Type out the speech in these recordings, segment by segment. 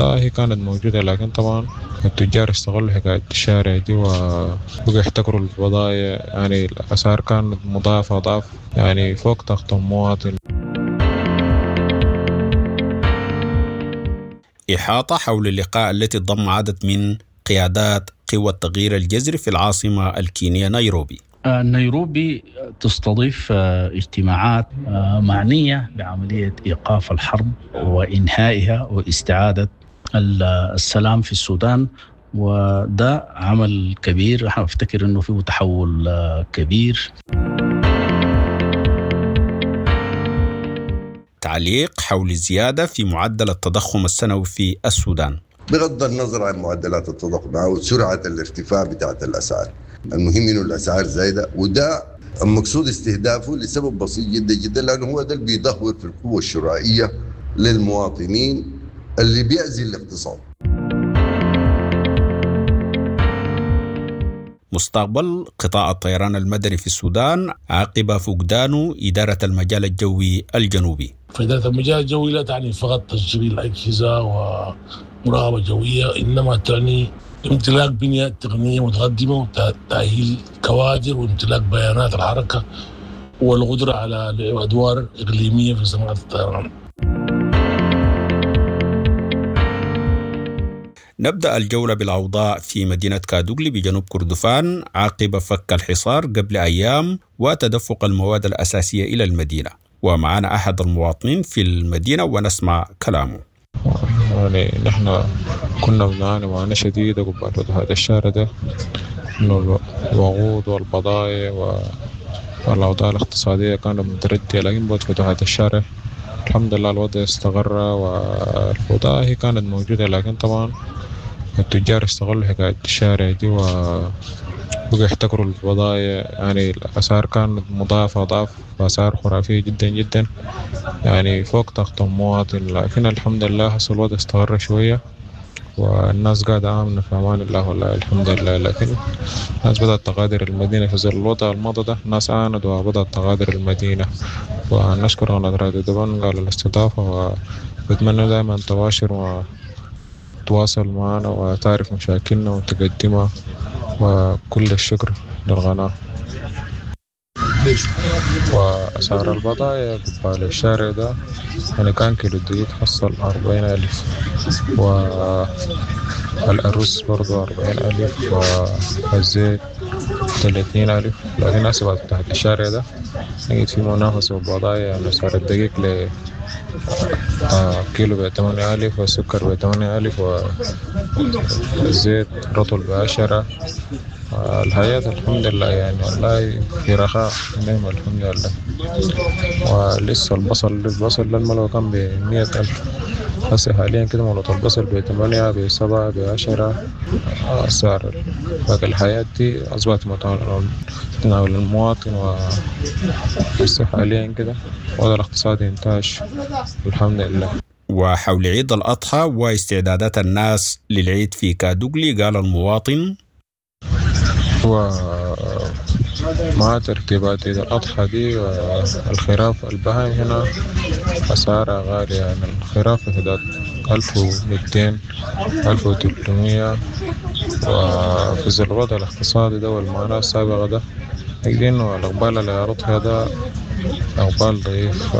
هي كانت موجودة، لكن طبعا التجار استغلوا حكاية الشارع دي وبقوا يحتكروا البضائع. يعني الأسعار كانت مضاعفة ضعف، يعني فوق طاقة المواطن. إحاطة حول اللقاء التي ضم عدد من قيادات قوى التغيير الجذري في العاصمة الكينية نيروبي. نيروبي تستضيف اجتماعات معنية بعملية إيقاف الحرب وإنهائها واستعادة السلام في السودان، وده عمل كبير. انا افتكر انه فيه تحول كبير. تعليق حول الزيادة في معدل التضخم السنوي في السودان. بغض النظر عن معدلات التضخم او سرعة الارتفاع بتاعت الاسعار، المهم انه الاسعار زايدة، وده المقصود استهدافه لسبب بسيط جدا جدا، لانه هو ده اللي بيدهور في القوة الشرائية للمواطنين اللي بيأذي الاقتصاد. مستقبل قطاع الطيران المدني في السودان عقب فقدانه إدارة المجال الجوي الجنوبي. فإدارة المجال الجوي لا تعني فقط تشغيل الأجهزة ومراقبة جوية، إنما تعني امتلاك بنية تقنية متقدمة وتأهيل كوادر وامتلاك بيانات الحركة والقدرة على لعب أدوار إقليمية في صناعة الطيران. نبدأ الجولة بالأوضاع في مدينة كادوغلي بجنوب كردفان عقب فك الحصار قبل أيام وتدفق المواد الأساسية إلى المدينة، ومعنا أحد المواطنين في المدينة ونسمع كلامه. يعني نحن كنا بنعاني معاناة شديدة قبل هذا الشهر ده، إنه الوقود والبضائع والأوضاع الاقتصادية كانت متردية، لكن بعد فتوحات الشارع الحمد لله الوضع استقر، والبضائع هي كانت موجودة، لكن طبعا التجار استغلوا حكاية الشارع دي وبقوا يحتكروا البضائع. يعني الأسعار كانت مضاعفة ضعف، وأسعار خرافية جدا جدا، يعني فوق طاقة المواطن. لكن الحمد لله هسه الوضع استقر شوية والناس قاعدة آمنة في أمان الله، والله الحمد لله. لكن الناس بدأت تغادر المدينة في ظل الوضع الماضي ده، الناس عانت وبدأت تغادر المدينة. ونشكر قناة راديو دبنقا على الاستضافة، وبتمنى دائما تباشر وتواصل معنا وتعرف مشاكلنا وتقدمها، وكل الشكر للقناة. وأسعار البضائع قبال الشارع ده يعني كان كيلو الدقيق حصل 40,000، والأرز برضو 40,000، والزيت 30,000. لكن هسه بعد تحت الشارع ده لقيت في منافسة بالبضائع، يعني أسعار الدقيق ل كيلو ب8,000، والسكر ب8,000، والزيت رطل ب10. الحياة الحمد لله يعني والله في رخاء نعم الحمد لله. ولسه البصل للملوى كان ب100,000، هسه حاليا كده ملوى البصل ب8، ب7، ب10. أسعار باقي الحياة دي أصبحت متناول المواطن، وهسه حاليا كده الوضع الاقتصادي انتعش الحمد لله. وحول عيد الأضحى واستعدادات الناس للعيد في كادوغلي قال المواطن: هو مع ترتيبات عيد الأضحى دي الخراف البهائم هنا أسعارها غالية، يعني الخراف في حدود 1200 1300. وفي ظل الوضع الاقتصادي ده والمعاناة السابقة ده نجد إنه الإقبال على الأضحية ده إقبال ضعيف،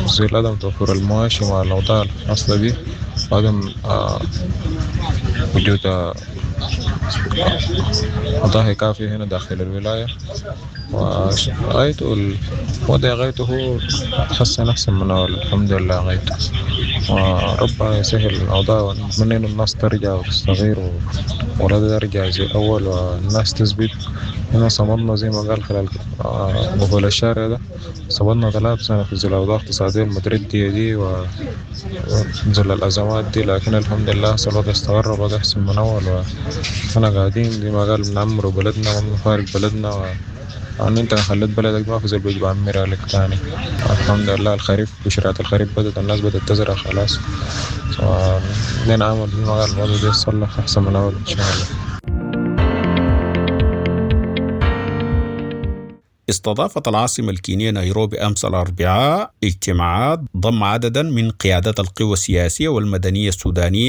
ظل عدم توفر المواشي مع الأوضاع الحاصلة دي، وعدم وجود أضاحي كافية هنا داخل الولاية. وغايته الوضع غايته هو تحسن أحسن من أول الحمد لله غايته، وربنا يسهل الأوضاع، ونتمنى إنه الناس ترجع وتستغير ولا ترجع زي الأول والناس تثبت. هنا صمدنا زي ما قال خلال قبول الشارع ده، صمدنا 3 سنة في ظل الأوضاع الاقتصادية المتردية دي وظل الأزمات دي، لكن الحمد لله الوضع استقر والوضع أحسن من أول، وإحنا قاعدين زي ما قال بنعمر بلدنا وبنفارق بلدنا يعني انت خليت بلدك ما في زول بيجي بعمرها لك تاني. الحمد لله الخريف بشرات الخريف بدت، الناس بدت تزرع خلاص، لنا عمل زي ما قال الوضع ده يتصلح أحسن من أول إن شاء الله. استضافت العاصمة الكينية نيروبي أمس الأربعاء اجتماعات ضم عددا من قيادات القوى السياسية والمدنية السودانية.